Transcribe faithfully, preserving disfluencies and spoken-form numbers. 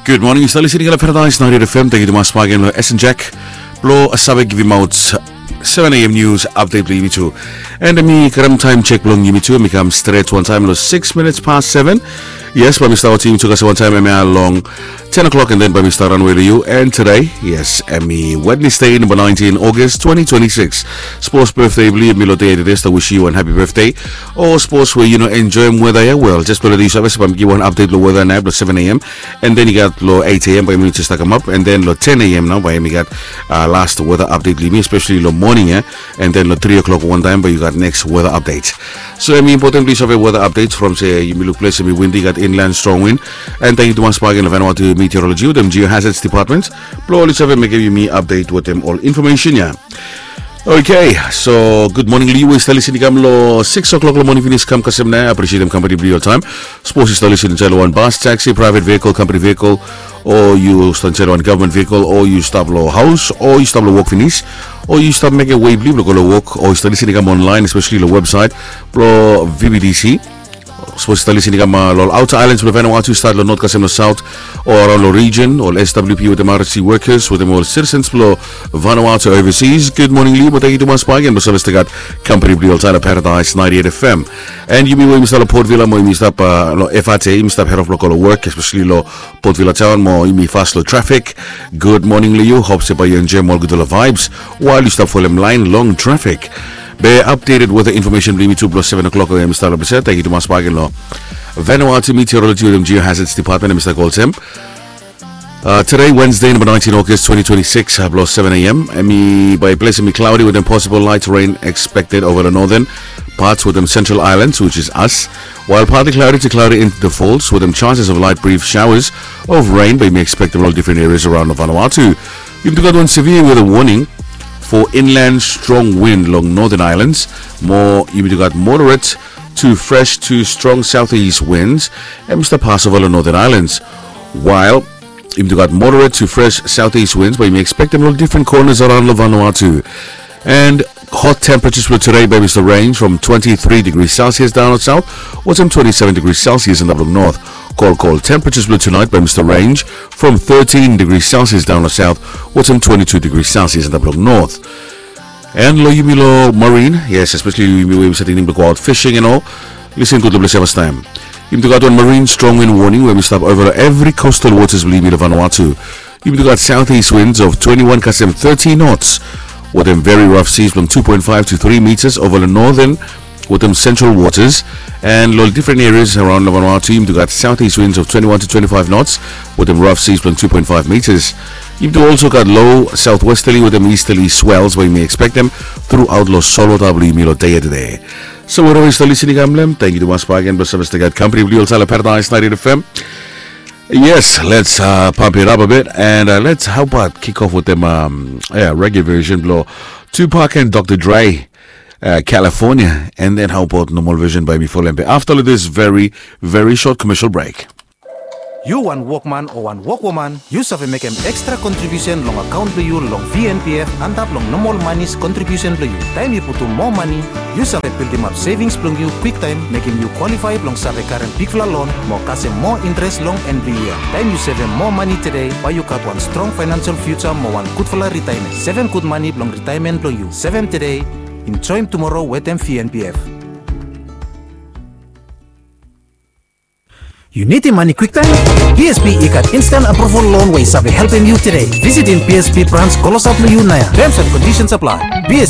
Gud moning, yu stap listening long Paradise ninety-eight F M. Tangkiu tumas bakegen long Esen Jack blong save givimaot seven a.m. nius update blong yumi tu. And mi karem taem sek blong yumi tu, mi kam stret wantaem long six minutes past seven. Yes, bae mi stap wetem yumi tu kasem wantaem hemia long ten o'clock, and then bae mi stap ranwe long yu. And today, yes, hemi Wednesday, namba nineteen August twenty twenty-six. Sapos birthday blong yu hemi long dei ya tede, stap wisim yu wan happy birthday. O sapos we yu no enjoem weta ya, wel, jes blong letem yu save se bae mi givim wan update blong weta nao blong seven a.m. And then i gat long eight a.m. bae yumi jes stap kamap, and then long ten a.m. nao bae yumi gat last weather update blong yumi, especially long moning ya. And then long three o'clock wantaem bae yu gat next weather update. So hemi important blong yu save weather update from se yumi luk ples hemi windy, gat inland strong wind. And tangkiu tumas bakegen long Vanuatu Meteorology wetem Geohazards Department blong oli save mekem yumi update wetem ol infomesen ya. Okay, so gud moning long yu we yu stap listening i kam long six o'clock long moning finis kam kasem nao. Apresietem kampani blong yu oltaem. Sapos yu stap listening insaed long wan bas, taxi, private vehicle, company vehicle, o yu stap insaed long wan gavman vehicle, o yu stap long haos, o yu stap long wok finis, o yu stap mekem wei blong yu blong go long wok, o yu stap listening i kam online, especially long website blong V B D C. Sapos yu stap listening i kam long ol outer islands blong Vanuatu, stat long north kasem long south, o araon long region, ol S W P wetem R S C workers wetem ol citizens blong Vanuatu overseas, gud moning long yu, mo tangkiu tumas bakegen blong save stap gat kampani blong yu oltaem long Paradise ninety-eight F M. And yumi we yumi stap long Port Vila mo yumi stap long F R T, yumi stap head off blong go long wok, especially long Port Vila taon, mo yumi fas long trafik. Gud moning long yu, hop se bae yu enjoem ol gudfala vibes wael yu stap folem laen long trafik. Be updated weather information blong yumi tu blong seven o'clock we hemi stap long ples ya. Tangkiu tumas bakegen long Vanuatu Meteorology wetem Geohazards Department, hemi stap go olsem. Today, Wednesday, namba nineteen August twenty twenty-six, blong seven a.m. Hemi bae ples hemi cloudy wetem possible light rain expected over the northern parts wetem central islands, which is us. While partly cloudy to cloudy in the falls wetem chances of light brief showers of rain bae yumi ekspektem long ol difren areas araon long Vanuatu. Yumi tu gat wan severe weather warning for inland strong wind long northern islands. Mo yumi tu gat moderate to fresh to strong southeast winds hemi stap pasova long northern islands. While yumi tu gat moderate to fresh southeast winds bae yumi ekspektem long difren corners araon long Vanuatu. And hot temperatures blong today bae hemi stap range from twenty-three degrees Celsius daon long south wetem twenty-seven degrees Celsius antap long north. Cold, cold temperatures blong tonight bae hemi stap range from thirteen degrees Celsius daon long south wetem twenty-two degrees Celsius antap long north. And long yumi long marine, yes, especially yumi we yumi stap tingting blong go out fishing and all, listen gud long ples ya fastaem. Yumi tu gat wan marine strong wind warning we hemi stap ova long evri coastal waters blong yumi long Vanuatu. Yumi tu gat southeast winds of twenty-one kasem thirty knots wetem very rough seas blong two point five to three meters ova long northern wetem central waters. And long difren areas araon long Vanuatu yumi tu gat southeast winds of twenty-one to twenty-five knots wetem rough seas blong two point five meters. Yumi tu also gat low southwesterly wetem easterly swells we yumi ekspektem truaot long solwota blong yumi long dei ya tede. So wherever yu stap listening i kam long hem, tangkiu tumas bakegen blong save stap gat kampani blong yu oltaem long Paradise ninety-eight F M. Yes, let's pump it up a bit and let's, how about, kick off wetem reggae version blong Tupac and Doctor Dre, California, and then how about normal version bae mi folem be afta long this very, very short commercial break. Yu wan wokman o wan wokwoman, yu save mekem ekstra kontribiusen long akaon blong yu long V N P F antap long nomol manis kontribiusen blong yu. Taem yu putum moa mane, yu save bildimap sevings blong yu kwiktaem, mekem yu kwalifae blong save karem bigfala lon mo kasem moa intres long en blong yia. Taem yu sevem moa mane tede, bae yu gat wan strong faenensel fiuja mo wan gudfala ritaemen. Sevem gud mane blong ritaemen blong yu. Sevem tede, enjoem tumoro wetem V N P F. Yu nidim mane kwiktaem? P S B i gat instant approval loan we i save helpem yu tede. Visitim P S B brans klosap long yu naoia. Terms and conditions apply. P S